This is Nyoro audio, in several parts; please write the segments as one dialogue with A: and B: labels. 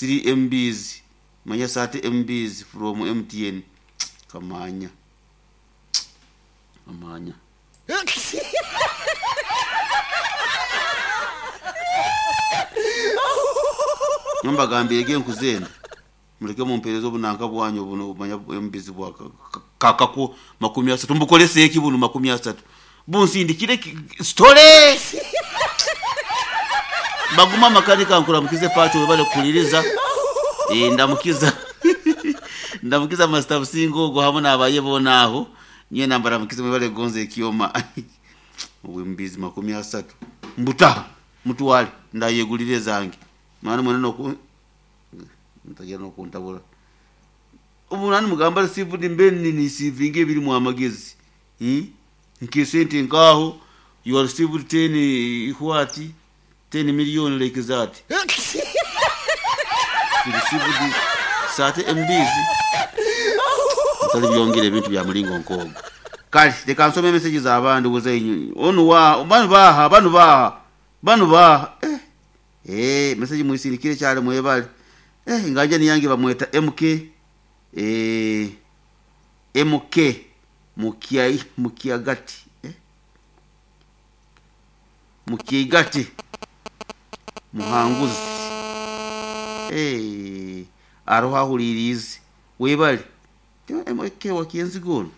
A: 3 MBs manya 30 MBs from MTN. Kamanya kamanya Nyambagambire genkuzenda muleke mumpereze obunanka bwanyu buno manya MBs bwa kakako 30 mbukolese eki buno 30 bunsindikire story baguma makanika nkuramukize pacho webale kuliriza. Ndamukiza ndamukiza Master Busingo ogwo hamwe n'abaye bona aho nye nambara mukize mwebale gonze ekyoma obwembizi 30 mbuta mutwale ndayegulire zange mwana mwana noku ntagira no kuntabura ubunani mugamba received mbeni ni receiving ebiri mu amagezi nkesente nkaho you are received 10 what 10 million like that you received 30 MBs ntali byongere ebintu bya mulingo nkogo. Kale reka nsome message z'abandi buze onu wa banu baha banu baha banu baha message muisindikire cyane mwebale. Ngaje niyange bamweta MK MK mukiai mukiagati mukigati muhanguzi aroha hulirize webale MK wakienzi gono.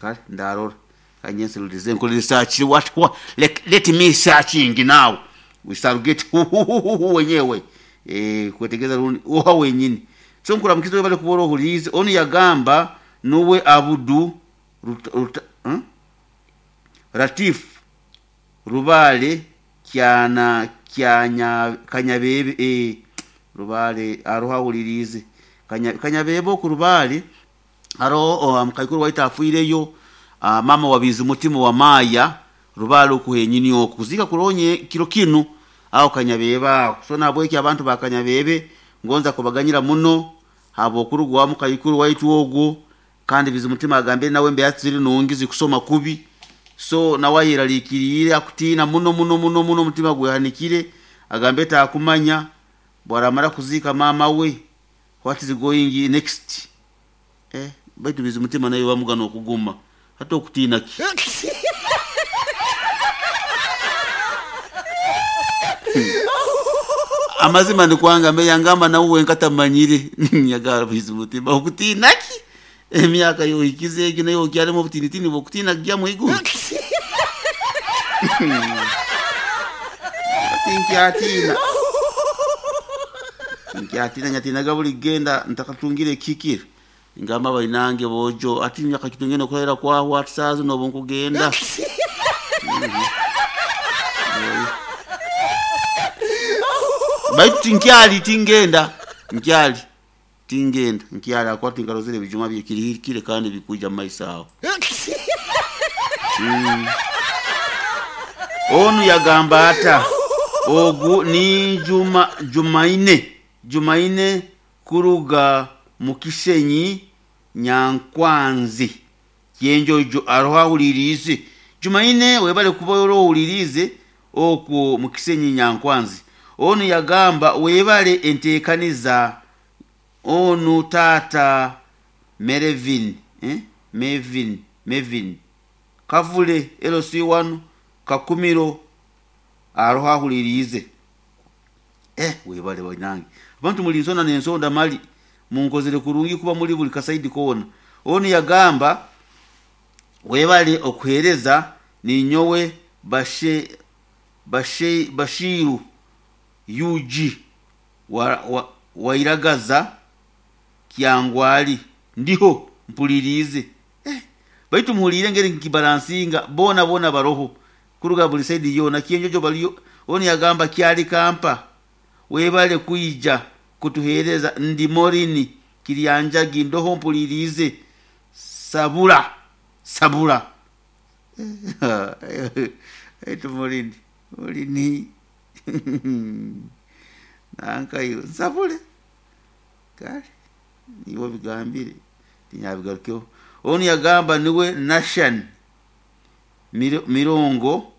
A: Kale ndarora kanyense lulize nkole research what let me searching now we shall get wenyewe kwetegeza rundi oha wenyini. So nkuramukizo bale kuboro hulize onu yagamba nuwe Abudu Ratif Rubale kyana kyanya kanyabebe Rubale aroha hulirize kanyabebe ku Rubale aro mkaikuru waita afuireyo mama wabizi mutima wa Maya Rubale okuhenyini okuzika kuronye kiro kinu aho kanyabeba. So nabweki abantu bakanyabebe ngonza kubaganyira muno habo kurugwa mukayikuru waitu ogwo kandi bizi mutima agambire nawe mbe yatsiri nungizi kusoma kubi. So nawayiralikirire akutina muno muno muno muno mutima gwehanikire agambe takumanya bwaramara kuzika mama we what is going next. Baitu bizi mutima nayo bamugana okuguma hata okutina ki. Amazima ndikwanga mbe yangamba nawe nkatamanyire nyagara bizi mutima okutina ki emyaka yo ikize egi nayo kyalemo obutinitini bokutina gya muigu. Tinkiatina tinkiatina nyatina gabuli genda ntakatungire kikira ngamba bainange bojo ati myaka kitungene okolera kwa whatsapp no bonkugenda. Baitu tinkyali tingenda nkyali tingenda nkyali akwati ngarozere bijuma byekirihikire kandi bikuja maisao. Onu yagamba ata ogu ni juma Jumaine kuruga mukisenyi Nyankwanzi yenjojo aroha ulirize. Jumaine webale kuba ulirize okwo mukisenyi Nyankwanzi. Onu yagamba webale entekaniza onu tata Merevin Mevin Kavule LC1 Kakumiro aroha hulirize. Webale wanange abantu muli nsonda nensonda mali munkozere kurungi kuba muri buli kasaidi kona. Onu yagamba webale okuhereza ninyowe Bashiru UG wairagaza Kyangwali ndiho mpulirize. Baitu muhulire ngeri nkibalansinga bona bona baroho kuruga buli saidi yona kienjojo baliyo. Oni yagamba kyali kampa webale kuija kutuhereza ndi morini Kirianjagi ndoho mpulirize sabula etu morini nanka iyo sabule kale niwo bigambire tinyabigarukyo. Oni yagamba niwe Nashan Mirongo